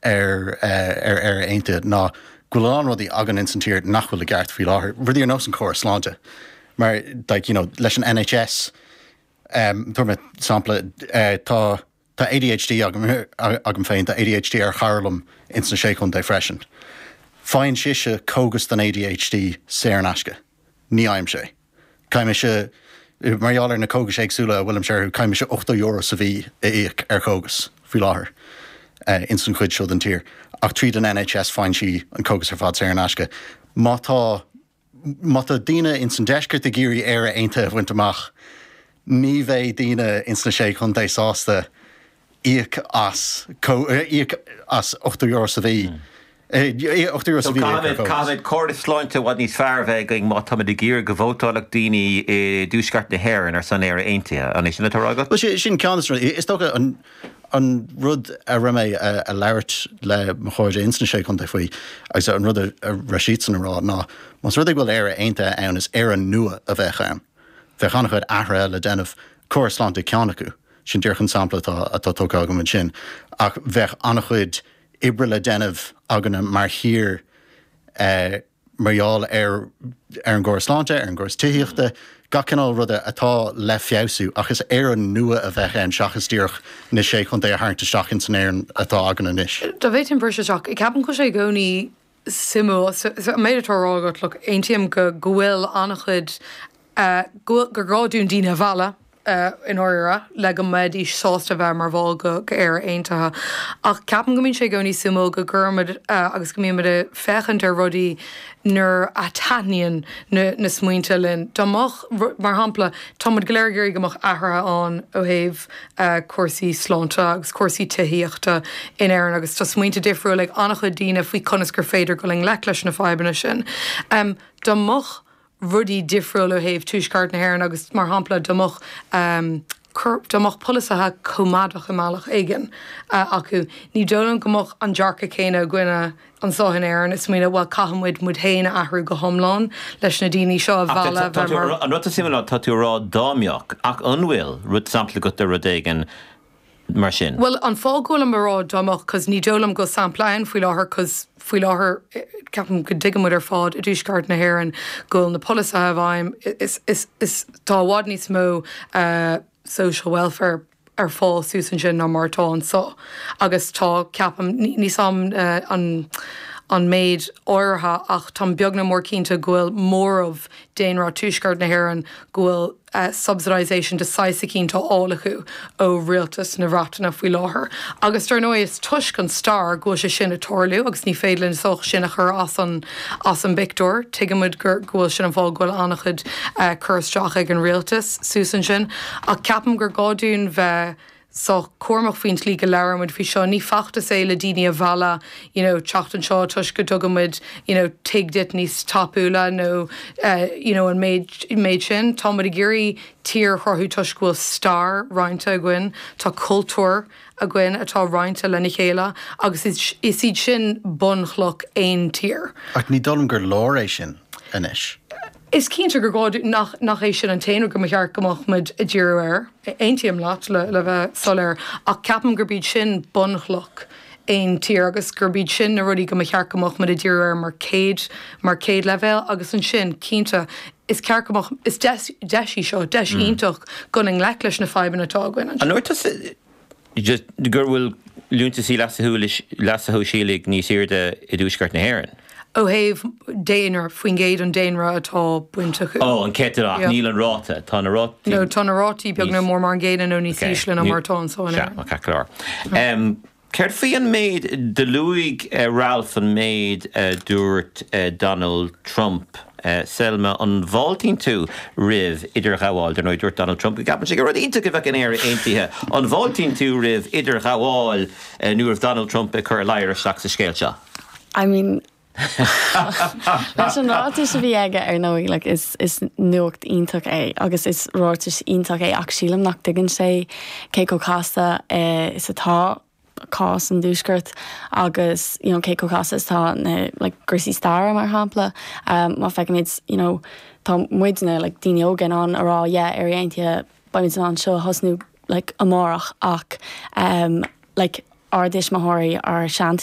ar ar Éire Aontaithe ná go bhfuil a lán rudaí againn ins an tír nach bhfuil i gceart faoi láthair, rudaí ar nós an córas sláinte. Mar like you know leis an NHS, tabharfaidh mé sampla, tá tá ADHD agam agam féin, tá ADHD ar chara liom ins na Sé Chontae freisin. Faigheann sise cógas don ADHD saor in aisce. Ní fhaighimse é. Caithfidh mise, mar gheall ar na cógais éagsúla a bhfuilimse orthu, caithfidh mise €80 sa mhí a íoc ar chógas faoi láthair ins an chuid seo den tír. Ach tríd an NHS faigheann sí an cógas ar fad saor in aisce. Má tá, má tá daoine ins an deisceart ag iarraidh Éire Aontaithe a bhaint amach, ní bheidh daoine ins na Sé Chontae sásta íoc as, íoc as €80 sa mhí. €80 sa mhí a íoc ar cógas. Caithfimid córas sláinte i bhfad níos fearr a bheith againn má táimid ag iarraidh go vótálfadh daoine i dTuaisceart na hÉireann ar son Éire Aontaithe. An é sin atá á rá agat? Bhuel, sin ceann de na rudaí. Is dócha an an rud a raibh mé a labhairt le mo chairde ins na Sé Chontae faoi agus an rud a raibh siadsan a rá ná más rud é go bhfuil Éire Aontaithe ann is Éire nua a bheadh ann. Bheadh an-chuid athruithe le déanamh, córas sláinte ceann acu. Sin díreach an sampla atá atá tugtha agam ansin. Ach bheadh an-chuid oibre le déanamh againne mar thír mar gheall ar ar an gcóras sláinte, ar an gcóras tithíochta, gach cineál ruda atá le feabhsú ach is Éire nua a bheadh ann seachas díreach na Sé Chontae a tharraingt isteach ins an Éirinn atá againn anois. Dá bhféadfainn briseadh isteach, ceapaim go bhfuil sé i gcónaí suimiúil, an méid atá á rá agat, look, aontaím go go bhfuil an-chuid, go bhfuil, gur gá dúinn daoine a mhealladh i ndáiríre le go mbeidís sásta bheith mar bhall go Éire Aontaithe. Ach ceapaim go mbíonn sé i gcónaí suimiúil go gcuirimid agus go mbímid ag féachaint ar rudaí nuair a taitníonn na na smaointe linn. Dá mbeadh, mar shampla, tá muid go léir ag iarraidh go mbeadh athruithe ann ó thaobh cúrsaí sláinte agus cúrsaí tithíochta in Éirinn agus tá smaointe difriúil ag an-chuid daoine faoi conas gur féidir dul i ngleic leis na fadhbanna sin. Dá mbeadh rudaí difriúil ó thaobh Tuaisceart na hÉireann agus mar shampla dá mbeadh dá mbeadh polasaithe coimeádach i mbealach éigin acu, ní dóigh liom go mbeadh an dearcadh céanna againne anseo in Éirinn ag smaoineamh, bhuel, caithfidh muid muid féin a athrú go hiomlán leis na daoine seo a mhealladh a bheith mar. An rud atá suimiúil ná tá tú ag rá dá mbeadh, ach an bhfuil rud sampla agat de rud éigin mar sin? Bhuel, an fáth go bhfuilim ag rá dá mbeadh, 'cause ní dóigh liom go bhfuil sampla ann faoi láthair, 'cause faoi láthair ceapaim go dtuigeann muid ar fad i dTuaisceart na hÉireann go bhfuil na polasaithe i bhfeidhm, is, is, is, tá i bhfad níos mó social welfare, ar fáil suas ansin ná mar atá anseo agus tá, ceapaim, níl 'fhios a'm an an méid áirithe ach táim beag nó mór cinnte go bhfuil móramh daonra Tuaisceart na hÉireann go bhfuil subsidisation de saghas eicínt á fháil acu ó rialtas na Breataine faoi láthair. Agus dar ndóigh is toisc an stair go bhfuil sé sin ag tarlú agus ní féidir linn sách sin a chur as an as an bpictiúr. Tuigimid gur go bhfuil sin an fáth go bhfuil an-chuid cur isteach ag an rialtas suas ansin. Ach ceapaim gur gá dúinn bheith sách cúramach faoin tslí go labhraímid faoi seo. Ní feachtas é le daoine a mhealladh you know teacht anseo toisc go dtugaimid you know tigh duit níos tapúla nó you know an méid méid sin. Táimid ag iarraidh tír a chruthú toisc go bhfuil stair roinnte againn, tá cultúr againn atá roinnte lena chéile agus is iad sin bunchloch aon tír. Ach ní dóigh liom gur leor é sin anois. Is cinnte gur gá nach nach é sin an t-aon rud go mba cheart go mbeadh muid ag díriú air. Aontaím leat, le le bheith soiléir, ach ceapaim gurb iad sin bunchloch aon tír agus gurb iad sin na rudaí go mba cheart go mbeadh muid ag díriú air mar chéad mar chéad leibhéal agus ansin, cinnte, is ceart go mbeadh, is deis deis í seo, deis iontach dul i ngleic leis na fadhbanna atá againn anseo. An ndúirt tusa just go bhfuil liúntasaí leasa shóisialaigh níos airde i dTuaisceart na hÉireann? Ó thaobh daonra, faoin gcéad an daonra atá bainteach. Ó, an céatadán, ach níl an ráta, tá na rátaí. No, tá na rátaí beag nó mór mar an gcéanna nó níos ísle ná mar atá anseo in Éirinn. Sea, ceart go leor. Céard faoi an méid, do luaigh Ralph an méid a dúirt Donald Trump. Selma, an bhfáiltíonn tú roimh idirghabháil? Dar ndóigh, dúirt Donald Trump go gceapann sé gur rud iontach a bheadh in Éire Aontaithe. An bhfáiltíonn tú roimh idirghabháil nó roimh Donald Trump ag cur a ladhar isteach sa scéal seo? I mean, leis an ráiteas a bhí aige ar ndóigh, like, is, is nuacht iontach é agus is ráiteas iontach é ach sílim nach dtuigeann sé cé chomh casta is atá cás an Tuaiscirt agus you know, cé chomh casta is atá na like, cúrsaí staire mar shampla. Um, má feicimid you know, tá muidne like, daoine óga in ann a rá yeah, Éire Aontaithe beimid in ann seo a thosnú like, amárach ach um, like, ár dtuismitheoirí, ár seantuismitheoirí.